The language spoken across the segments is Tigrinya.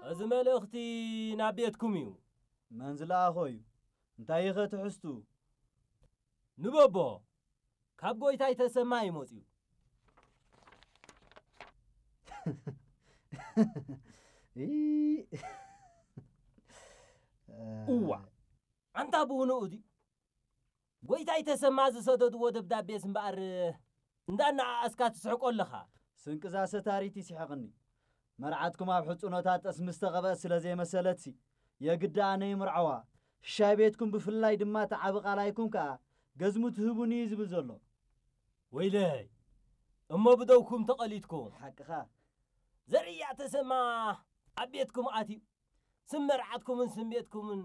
እዚ መልእኽቲ ናብ ቤትኩም እዩ። መን ዝለኣኾ እዩ? እንታይ ኢኸ ትሕዝቱ? ንበቦ፣ ካብ ጎይታይ ተሰማ እዩ መጺኡ። እዋ፣ ኣንታ ብኡንኡ ድዩ? ጎይታይ ተሰማ ዝሰደድዎ ደብዳቤስ እምበኣር እንዳነኣኣስካ ትስሕቆ ኣለኻ። ስንቅዛ ሰታሪት ይስሕቕኒ። መርዓትኩም ኣብ ሕጽኖታት ጠስሚ ዝተቐብአት ስለ ዘይመሰለትሲ፣ የግዳ ኣነ ይምርዓዋ። ሽሻይ ቤትኩም ብፍላይ ድማ እቲ ዓቢ ቃላይኩም ከኣ ገዝሙ ትህቡኒ እዩ ዝብል ዘሎ። ወይለይ፣ እሞ ብደውኩም ተቐሊድኩም። ሓቅኻ። ዘርእያ ተሰማ ኣብ ቤትኩም ኣትዩ። ስም መርዓትኩምን ስም ቤትኩምን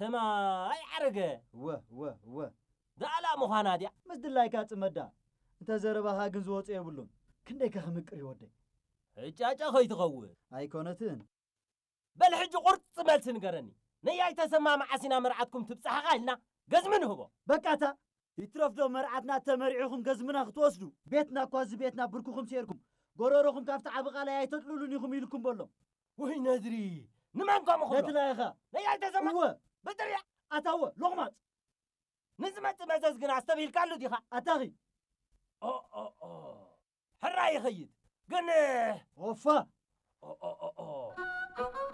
ሰማይ ዓረገ። እወ፣ እወ፣ እወ። ዳኣላ ምዃና ድያ? ምስ ድላይካ ጽመዳ። እንተ ዘረባኻ ግን ዝወጾ የብሉን። ክንደይ ከ ክምቅር እዩ ወደይ። ዕጫጫ ከይትኸውን። ኣይኮነትን። በል ሕጂ ቁርጽ መልሲ ንገረኒ። ነያይ ተሰማ መዓስ ኢና መርዓትኩም ትብጻሕኻ ኢልና ገዝሚ ንህቦ። በቃ እታ ይትረፍዶ መርዓትና ተመሪዕኹም ገዝምና ክትወስዱ? ቤትና እኳ እዚ ቤትና ብርክኹም ሴርኩም፣ ጎረሮኹም ካብቲ ዓቢ ቃላይ ኣይተጥልሉን ኢኹም ኢልኩም በሎም። ውይ ነድሪ፣ ንመን ከምኡ ክብሎ? ነቲ ላይኻ። ነያይ ተሰማ። እወ። በጥርያ። ኣታወ፣ ሎቕማጽ። ንዝመጽእ መዘዝ ግን ኣስተብሂልካሉ ዲኻ? ኣታኺ። ኦ፣ ኦ፣ ኦ። ሕራይ ይኸይድ። ግን ኦፋ። ኦ፣ ኦ፣ ኦ፣ ኦ።